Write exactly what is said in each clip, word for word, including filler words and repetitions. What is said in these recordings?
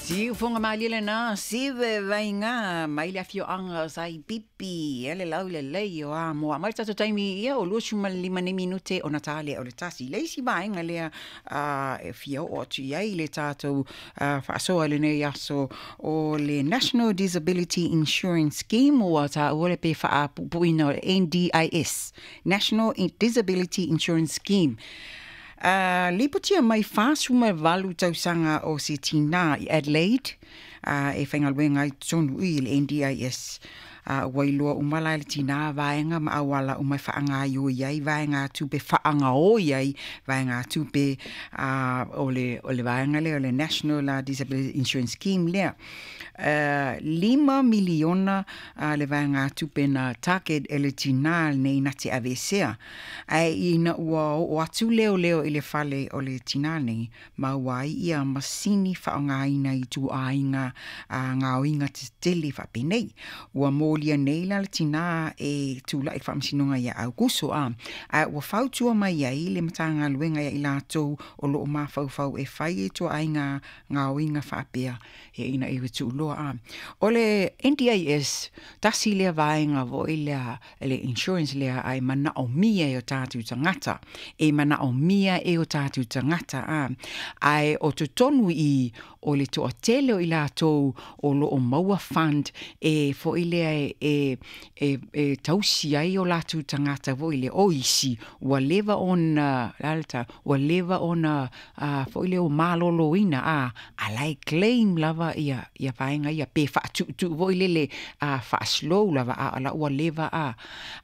Siufoga malie lenā sive vaiga mai le afioaga o Saipipi e le laulelei o Amoa mai le tatou taimi ia o luasefulumalima nei minute ona ta lea o le tasi le isi vaega lea e fia oo atu i ai le tatou faasoa i lenei aso o le National Disability Insurance Scheme ua taua le pe faapuupuuina o le N D I S, National Disability Insurance Scheme. Uh, lipotia mai fasefuluvalu tausaga o se tinā i Adelaide uh, e faigaluega ai totonu i le N D I S. Uh, ua iloa uma la e le tinā vaega ma auala uma e faagaioi ai vaega tupe faagaoi ai vaega tupe uh, o le, o le vaega lea o le National Disability Insurance Scheme lea. Uh, lima miliona uh, le vaega tupe na target e le tinā nei na te aveesea. Ae ina ua oo atu leoleo i le fale o le tinā nei, maua ai ia masini faaaogaina i ituaiga uh, gaoiga tetele faapenei. Ua molia nei la le tinā e tulai i le faamasinoga ia Aukuso a. Ae ua fautua mai ai le Matagaluega ia i latou o loo mafaufau e fai e ituaiga gaoiga faapea e ina ia tuuloa a. O le N D I S, tasi lea vaega foi lea le insurance lea ai manaomia e o tatou tagata. E manaomia e o tatou tagata a. Ae o totonu i o le toatele o i latou o loo maua fund e foi lea e, e, e, e tausi ai o latou tagata foi le o isi ua leva ona lalata ua leva ona uh, foi lea o maloloina a a lai claim lava ia ia vaega ia pe faatuutuu foi lele a faaslow lava a la ua leva a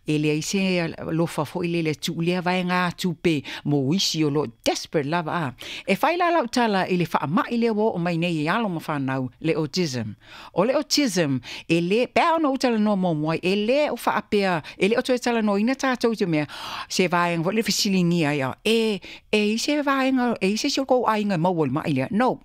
e leai se lofa foi lele tuu lea vaega tupe mo isi o loo desperate lava a. E fai la lau tala i le faamai lea ua oo mai nei i alo ma fanau, le autism. O le autism e le pe ona ou talanoa muamua e le o faapea e le o toe talanoaina tatou te mea se vaega foi le fesiligia ia e e i se vaega e i se si o kou aiga e maua i le mai lea. No.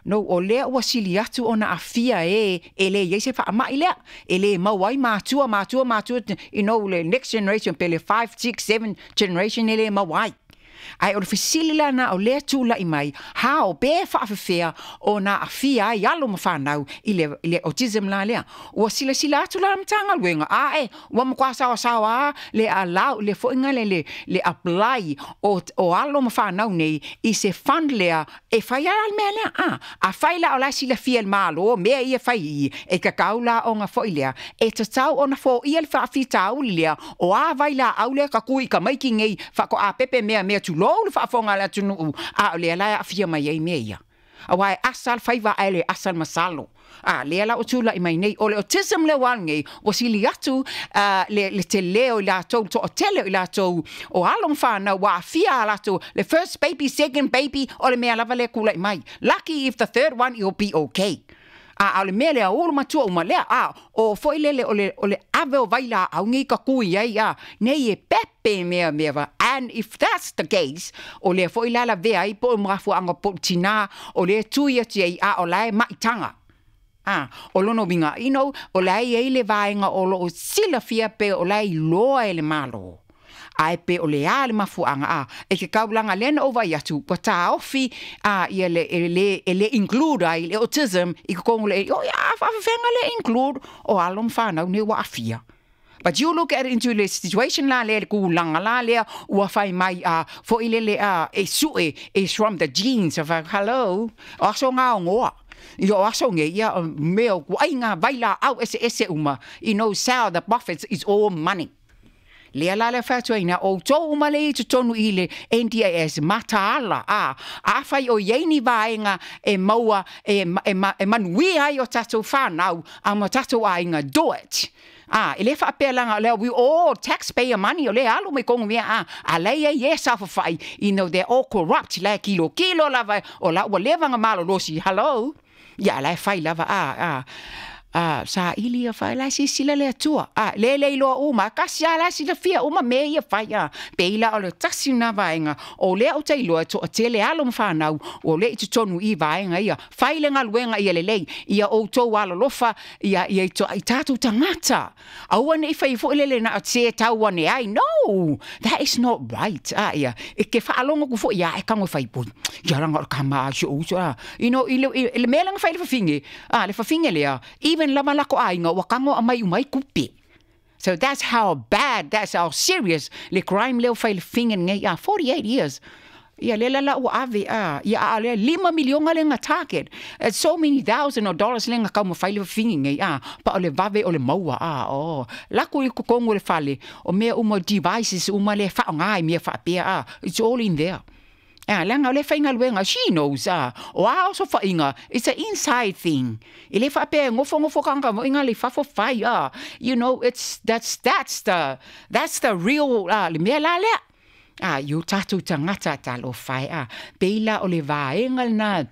No, o lea ua sili atu ona afia e e le iai se faamai lea. E le maua ai matua, matua, matua, you know, le next generation, pe le five, six, seven generation e le maua ai. Ae o le fesili lana o lea tulai mai, how pe faafefea ona aafia ai alo ma fanau i le, i le autism la lea. Ua silasila atu la Matagaluega, a e, ua matua saosaoa le allow, le foiga le, le, le apply o, o alo ma fanau nei i se fund lea e fai ala le mea lea. A, a fai la o la silafia le Malo, mea ia fai i, e kakau la ona foi lea, e tatau ona foia le faafitauli lea, o a vai la au lea ka kui ka maiki nei, whako a pepe mea mea tulou le faafofoga a le atunuu, a o lea la e aafia mai ai mea ia. Aua e asa le faiva ae le asa le masalo. A, lea la o tulai mai nei, o le autism le ua nei, ua sili atu uh, le, le te leo i latou, toatele i latou, o alo ma whanau, ua afia a latou, le first baby, second baby, o le mea lava le kulai mai. Lucky if the third one, you'll be okay. A, a o le mea lea ulu matua uma lea, a, o foi lele o le, o le ave o vai la au nei ka kui ai, a, nei e pepe mea mea va. And if that's the case, o lea foi la la vea ai po o mafuaanga po tina, o lea tui atu ai, a o la e maitanga. Ah, o lono winga, you know, o la e le vaenga o lo o silafia pe o la i loa e le malo. Ae pe o le a le mafuaanga a e ke kaulanga lena o vai atu ua taofi a ia le e le e le include ai le autism i kokongo le o ia faafefega le include o alo ma fanau nei ua aafia. But you look at it into the situation la le kūlanga la lea ua fai mai a foi lele a e sue is from the genes of a, hello, o aso ngā ngoa. I o aso nge ia mea o ku ai ngā vaila au ese ese uma. You know, sell the profits is all money. Lea la le whātua o tō uma le i totonu i le N D I S mataala a a whai o iei vaenga e maua e, e, e, e manuia ai o tātou whānau a ma tātou ainga, do it. Ah, e le whaapea lea, we all taxpayer money o le alu mai kongo mea a, a lei e yes afa whai, you know, they're all corrupt, la kilo kilo lava, o la ua leva nga malo losi, hello. Ia, la e whai lava, a, a. A saili ia fai la silasila le Atua, a le le iloa uma, tasi lava la e silafia uma mea ia fai, a pei la o le tasi lena vaega o lea ou te iloa e toatele alo ma fanau ua le i totonu i vaega ia. Fai le galuega ia lelei, ia outou alolofa ia ia i tatou tagata. Aua ne i fai foi lele na o se tau ane ai. No, that is not right. A ia, e ke faalogo atu foi ia e tago e fai pui. Ia laga o le kama a si ou uso a. You know, i le, i le mea lea na fai le fafine, a le fafine lea, even lava lako aiga ua tago aumai uma ai tupe. So that's how bad, that's how serious le crime lea ua fai le fafine lenei a forty-eight years. Ia lea la la ua ave a ia a lea lima miliona lea na target. It's so many thousand of dollars lea na taumafai le fafine nei a pa o le vave o le maua a o lako i totonu o le fale o mea uma, devices uma lea faaaoga i mea faapea a it's all in there. A leaga o le faigaluega, she knows a o a osofaiga, it's a inside thing. E le faapea e nofonofo tagata foi le fafo fai a you know it's that's that's the that's the real uh, le mea la lea. A i o tatou tagata talofa e a pei la o le vaega lena.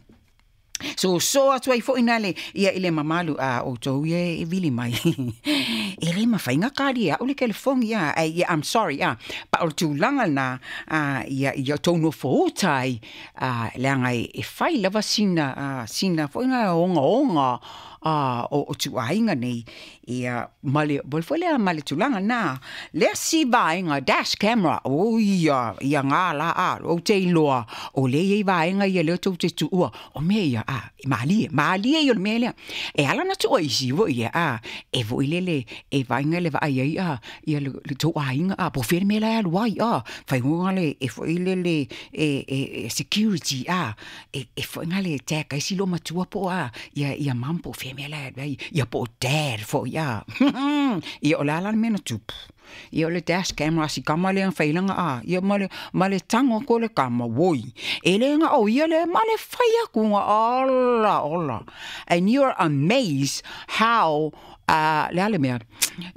So so atu ai foi na le ia i le mamalu a outou ia e vili mai. E le mafai na kali au le telefoni ia. Ai, I'm sorry a. Pa o le tulaga lena a ia ia tou nofo uta ai a leaga e, e fai lava sina a sina foi na ogaoga a o, o tuaiga nei ia ma le ma le foi lea ma le tulaga na le isi vaega dash camera o ia ia ngā la a o te iloa o le iai vaega ia lea tou te tuua o mea ia a e malie malie ia o le mea lea e ala na tuua isi foi ia a e foi lele e vaega le vaai ai a ia le, le tou aiga a po o fea le mea la e alu ai a faigoa le e foi lele e, e, e security a e, e foi le tag ai si lo matua po a ia ia mam po o fea mea la e alu ai ia po o dad foi a ia o le a la le mea na tupu ia o le dash camera si kama lea na failaga a ia ma le ma le tago atu o le kama oi e le na o ia le ma le fai atu ga ola ola, and you're amazed how uh, le a le mea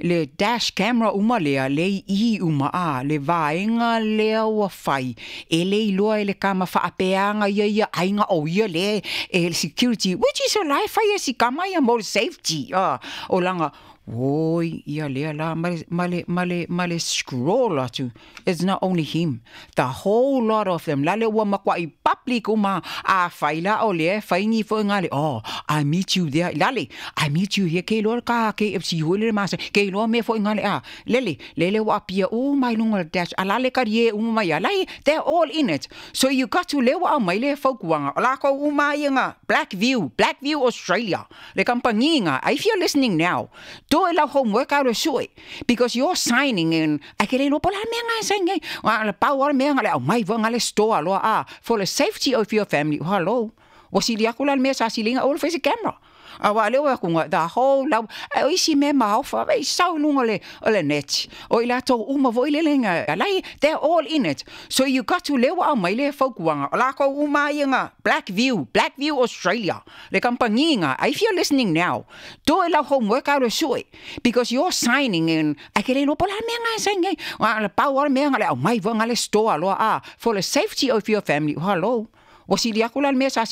le dash camera uma lea le i uma a le vaega lea ua fai e le iloa e le kama faapeaga ia ia aiga o ia le e security, which is a la e fai e si kama ia mo le safety uh, o laga oi ia lea la ma le ma le ma le ma le scroll atu. It's not only him, the whole lot of them la le ua makuai public uma a fai la o le fai ni foi nga le, "Oh, I meet you there," lale, "I meet you here," ke iloa ka K F C hui le masa ke iloa mea foi nga le a lele lele ua apia o mai lunga le dash a lale ka rie uma mai a lai, they're all in it. So you got to le ua aumai le fautuaga o lakou uma ia nga Blackview, Blackview Australia, le kamupani nga. If you're listening now, do e lau homework au le sue because you're signing in ai ke le iloa po o le a le mea nga e sign ai a le pau o le mea nga le aumai foi nga le store loa a for the safety of your family. Hello, ua sili aku la le mea sa siliga o le fai se camera a wa leo aku nga the whole lau o isi mea maofa e sau i luga o le o le net o i latou uma foi lele nga lai, they're all in it. So you got to le ua aumai le fautuaga o lakou uma ia nga Blackview, Blackview Australia, le kamupani nga. If you're listening now, do e lau homework au le sue because you're signing in ai ke le iloa po o le a le mea nga e sign ai a le pau o le mea nga le aumai foi nga le store loa a for the safety of your family. Hello, ua sili aku la le mea sa